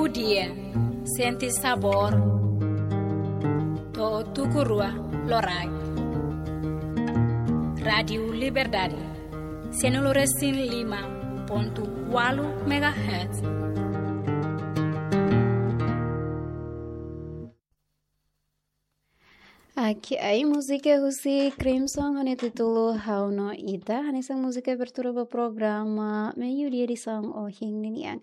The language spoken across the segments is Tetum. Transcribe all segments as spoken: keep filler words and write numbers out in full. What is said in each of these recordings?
Dia, sente sabór, to'o tuku rua loraik. Rádiu Liberdade, sianulu resin lima pontu ualu megahertz. Aki ai múzika husi Crimson ho nia títulu Ha'u no Ita, hanesan múzika abertura ba programa Meiudia edisaun ohin ninian.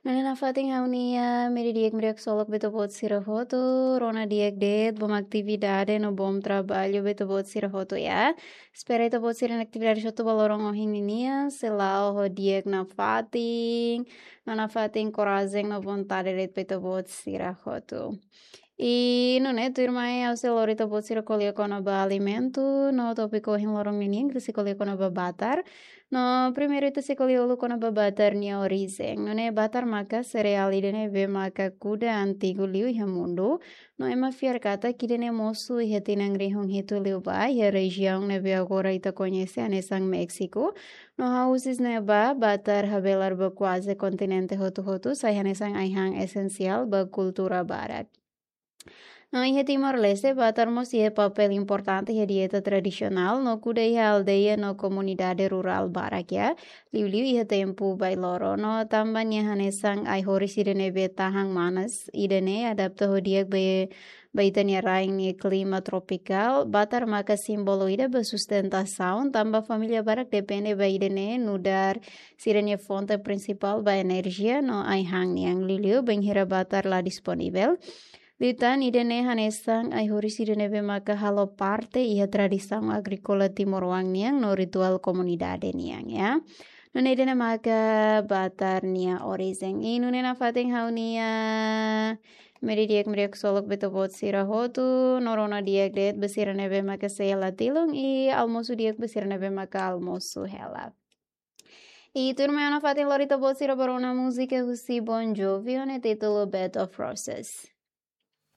Nune'e nafatin ha'u-nia meri di'ak meri haksolok ba ita-boot sira hotu, rona di'ak de'it, bom atividade no bom traballu ba ita-boot sira hotu ya. Espera ita-boot sira-nia atividade hotu ba loron ohin ninian, sei la'o ho di'ak nafatin, no nafatin korajen no vontade de'it ba ita-boot sira hotu. I nune'e tuirmai ha'u sei lori ita-boot sira ko'alia kona-ba alimentu, no tópiku ohin loron ninian ita sei ko'alia kona-ba batar. No primeiru ita sei ko'alia uluk kona-ba batar nia orijen. Nune'e batar maka sereál ida ne'ebé maka kuda antigu liu iha mundu. No ema fiar katak ida-ne'e mosu iha tinan rihun hitu liubá, iha rejiaun ne'ebé agora ita koñese hanesan Méxiku. No ha'u husi ne'ebá, batar habelar ba kuaze kontinente hotu-hotu, sai hanesan ai-han esensiál ba kultura barak. No iha Timor-Leste, batar mós iha papél importante iha dieta tradisionál, no kuda iha aldeia no komunidade rurál barak ya, liuliu iha tempu bailoro. No tanba nia hanesan ai-horis ida ne'ebé tahan manas, ida-ne'e adapta ho di'ak ba, ba ita-nia rain nia klima tropikál, batar maka símbolu ida ba sustentasaun, tanba família barak depende ba ida-ne'e nu'udar sira-nia fonte prinsipál ba enerjia no ai-han nian, liuliu bainhira batar la disponivel. Liután ida-ne'e hanesan ai-horis ida ne'ebé maka halo parte iha tradisaun agríkola timoroan nian no rituál komunidade nian ya. Nune'e ida-ne'e maka batar nia orijen. I nune'e nafatin ha'u-nia meri di'ak meri haksolok ba ita-boot sira hotu, no rona di'ak de'it ba sira ne'ebé maka sei hela tilun, i almosu di'ak ba sira ne'ebé maka almosu hela. I tuirmai ha'u nafatin lori ita-boot sira ba rona múzika husi Bon Jovi ho nia títulu Bed of Roses.